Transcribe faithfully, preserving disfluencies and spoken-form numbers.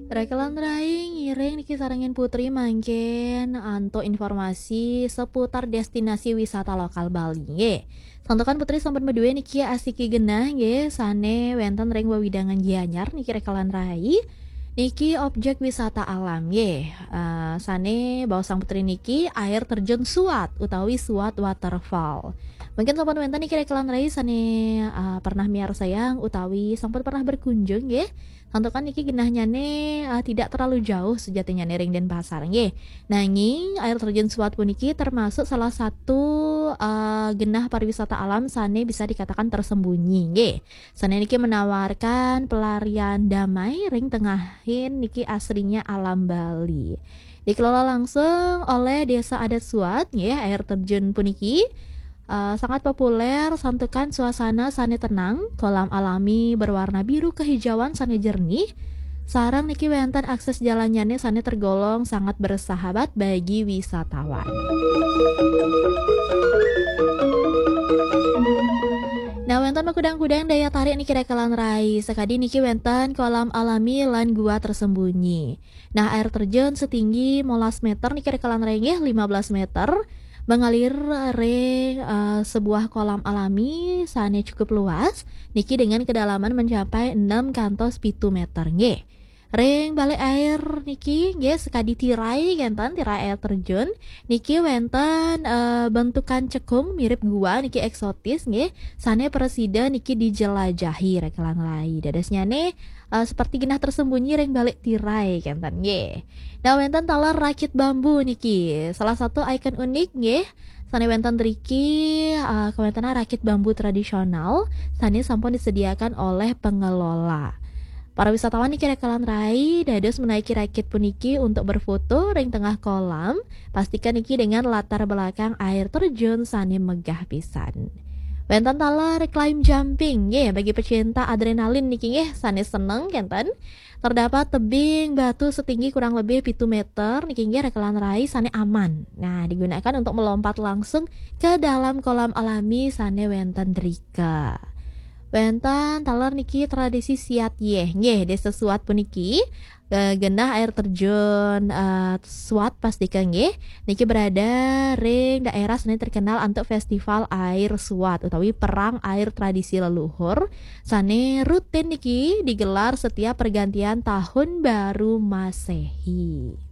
Rekelan rai ngiring niki sarengin Putri mangkin antuk informasi seputar destinasi wisata lokal Bali nggih. Santukan Putri sampun madue niki asiki genah nggih sane wenten ring wewidangan Gianyar niki rekelan rai. Niki objek wisata alam nggih. Eh, sane baosang Putri niki air terjun Suat utawi Suat Waterfall. Mungkin sampun wenten niki rekelan rai sane eh, pernah miarsayang utawi sampun pernah berkunjung nggih. Santukan niki genahnyane eh, tidak terlalu jauh sejatinya ring Denpasar nggih. Nanging air terjun Suat puniki termasuk salah satu eh, genah pariwisata alam sane bisa dikatakan tersembunyi nggih. Sane niki menawarkan pelarian damai ring tengahin niki asrinya alam Bali. Dikelola langsung oleh Desa Adat Suat nggih, air terjun puniki eh, sangat populer santukan suasana sane tenang, kolam alami berwarna biru kehijauan sane jernih, sareng niki wenten akses jalannyane sane tergolong sangat bersahabat bagi wisatawan. Nah, wenten makudang-kudang daya tarik niki rekelan rai. Sekadi niki wenten kolam alami lan gua tersembunyi. Nah, air terjun setinggi molas meter niki rekelan rai nggih, lima belas meter, mengalir ring eh, sebuah kolam alami sane cukup luas niki dengan kedalaman mencapai enam kantos pitu meter nggih. Ring balik air niki nggih sekadi tirai kenten, tirai air terjun niki wenten eh, bentukan cekung mirip gua niki eksotis nggih, sane presida niki dijelajahi rekelan rai. Dadosnyane eh, seperti genah tersembunyi ring balik tirai kenten nggih. Nah, wenten taler rakit bambu niki salah satu ikon unik nggih. Sane wenten driki eh, kawentenan rakit bambu tradisional sane sampun disediakan oleh pengelola. Para wisatawan niki rekelan rai dados menaiki rakit puniki untuk berfoto ring tengah kolam. Pastikan niki dengan latar belakang air terjun sane megah pisan. Wenten taler climb jumping nggih bagi pecinta adrenalin niki nggih sane seneng kenten. Terdapat tebing batu setinggi kurang lebih pitu meter niki nggih rekelan rai sane aman. Nah, digunakan untuk melompat langsung ke dalam kolam alami sane wenten drika. Wenten taler niki tradisi siat yeh nggih, Desa Suat puniki eh, genah air terjun eh, Suat pastika nggih. Niki berada ring daerah sane terkenal antuk festival air Suat utawi perang air tradisi leluhur sane rutin niki digelar setiap pergantian tahun baru Masehi.